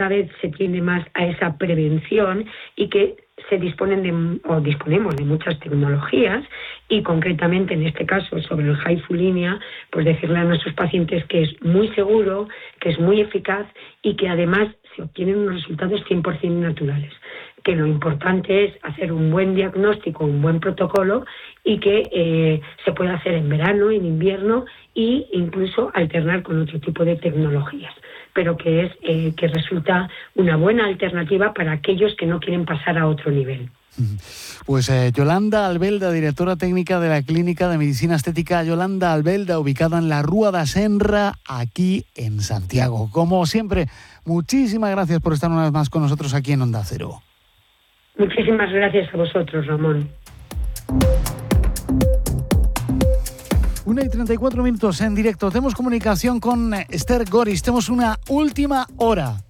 vez se tiende más a esa prevención y que disponemos de muchas tecnologías y concretamente en este caso sobre el Haifulinea, pues decirle a nuestros pacientes que es muy seguro, que es muy eficaz y que además se obtienen unos resultados 100% naturales. Que lo importante es hacer un buen diagnóstico, un buen protocolo y que se puede hacer en verano, en invierno e incluso alternar con otro tipo de tecnologías, pero que resulta una buena alternativa para aquellos que no quieren pasar a otro nivel. Pues Yolanda Albelda, directora técnica de la Clínica de Medicina Estética Yolanda Albelda, ubicada en la Rúa da Senra, aquí en Santiago. Como siempre, muchísimas gracias por estar una vez más con nosotros aquí en Onda Cero. Muchísimas gracias a vosotros, Ramón. 1:34 en directo. Tenemos comunicación con Esther Goris. Tenemos una última hora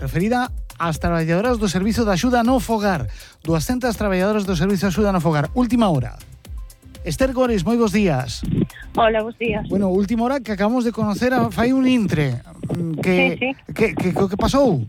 referida ás traballadoras do Servizo de Axuda no Fogar. 200 traballadoras do Servizo de Axuda no Fogar. Última hora. Esther Goris, moi bons días. Hola, bons días. Bueno, última hora que acabamos de conocer fai un intre. Sí. Que pasou?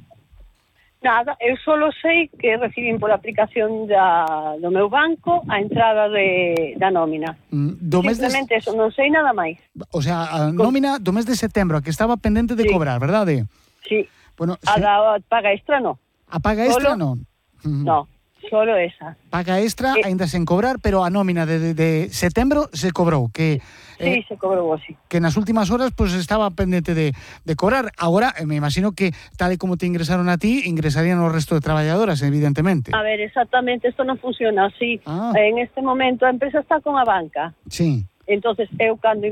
Nada, eu solo sei que recibín pola aplicación do meu banco a entrada da nómina. Simplemente eso, non sei nada máis. O sea, a nómina do mes de setembro, a que estaba pendente de cobrar, verdade? Sí. Bueno, a paga extra non. A paga extra non? No, solo esa. Paga extra ainda sen cobrar, pero a nómina de setembro se cobrou, que sí, se cobrou, sí. Que nas últimas horas pues estaba pendente de cobrar. Agora, me imagino que tal e como te ingresaron a ti, ingresarían o resto de traballadoras, evidentemente. A ver, exactamente, isto non funciona así. En este momento a empresa está con a banca. Sí. Entonces, eu cando,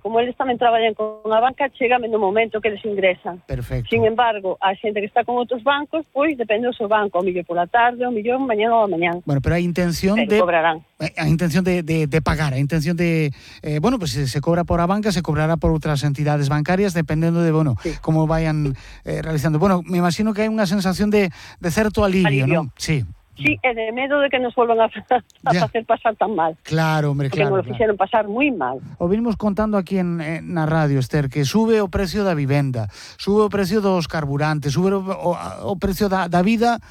como eles tamén traballan con a banca, chegame no momento que eles ingresan. Perfecto. Sin embargo, a xente que está con outros bancos, pois depende do seu banco, o millón pola tarde, o millón mañana ou a mañán. Bueno, pero hai intención de cobrarán. Hai intención de pagar, hai intención de bueno, pues se cobra por a banca, se cobrará por outras entidades bancarias dependendo de, bueno, sí, como vayan realizando. Bueno, me imagino que hai unha sensación de certo alivio, ¿no? Sí. Sí, e de medo de que nos volvan a facer pasar tan mal. Claro, hombre, porque claro. Porque nos fixeron pasar moi mal. O vinimos contando aquí na radio, Esther, que sube o precio da vivenda, sube o precio dos carburantes, sube o precio da vida,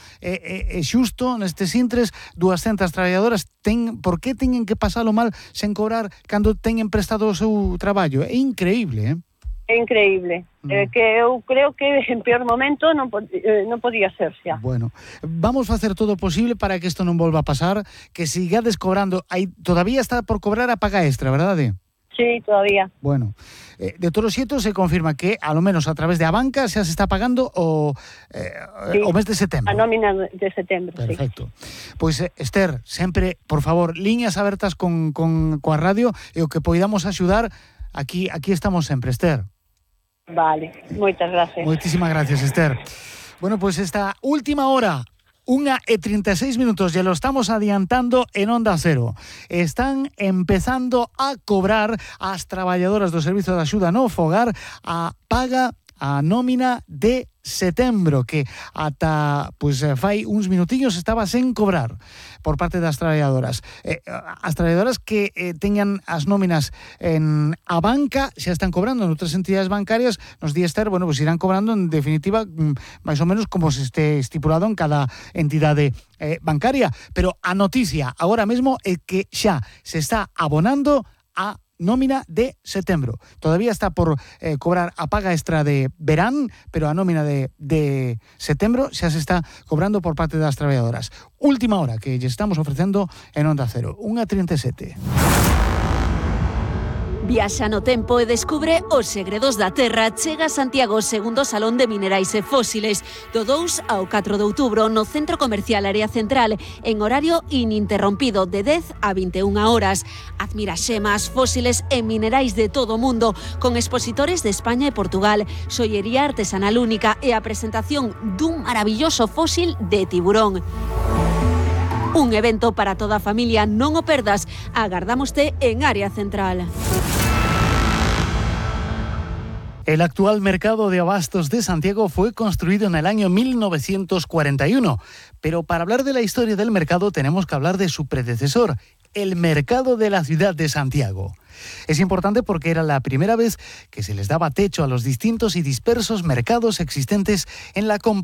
xusto nestes intres 200 traballadoras por que teñen que pasalo mal sen cobrar cando teñen prestado o seu traballo? É increíble, É increíble. Que eu creo que en peor momento non podía ser xa. Bueno, vamos facer todo o posible para que isto non volva a pasar, que sigades cobrando. Todavía está por cobrar a paga extra, verdade? Sí, todavía. Bueno, de todos os xeitos se confirma que, a lo menos a través de a banca, xa se está pagando o mes de setembro. A nómina de setembro, perfecto. Sí. Pois, Esther, sempre, por favor, liñas abertas coa radio e o que poidamos axudar, aquí estamos sempre, Esther. Vale, moitas gracias. Moitísimas gracias, Esther. Bueno, pues esta última hora, 1:36, ya lo estamos adiantando en Onda Cero. Están empezando a cobrar as traballadoras do Servizo de Axuda no Fogar a paga a nómina de setembro, que ata fai uns minutinhos estaba sen cobrar por parte das traballadoras. As traballadoras que teñan as nóminas en a banca xa están cobrando en outras entidades bancarias, nos di Esther, bueno, pues irán cobrando en definitiva máis ou menos como se este estipulado en cada entidade bancaria, pero a noticia agora mesmo é que xa se está abonando a nómina de setembro. Todavía está por cobrar a paga extra de verán, pero a nómina de setembro xa se está cobrando por parte das traballadoras. Última hora que lle estamos ofrecendo en Onda Cero, 1:37. Viaxa no tempo e descubre os segredos da Terra. Chega a Santiago segundo Salón de Minerais e Fósiles do 2 ao 4 de outubro no Centro Comercial Área Central en horario ininterrompido de 10 a 21 horas. Admira xemas, fósiles e minerais de todo o mundo con expositores de España e Portugal, xollería artesanal única e a presentación dun maravilloso fósil de tiburón. Un evento para toda a familia, non o perdas. Agardámoste en Área Central. El actual mercado de abastos de Santiago fue construido en el año 1941, pero para hablar de la historia del mercado tenemos que hablar de su predecesor, el mercado de la ciudad de Santiago. Es importante porque era la primera vez que se les daba techo a los distintos y dispersos mercados existentes en la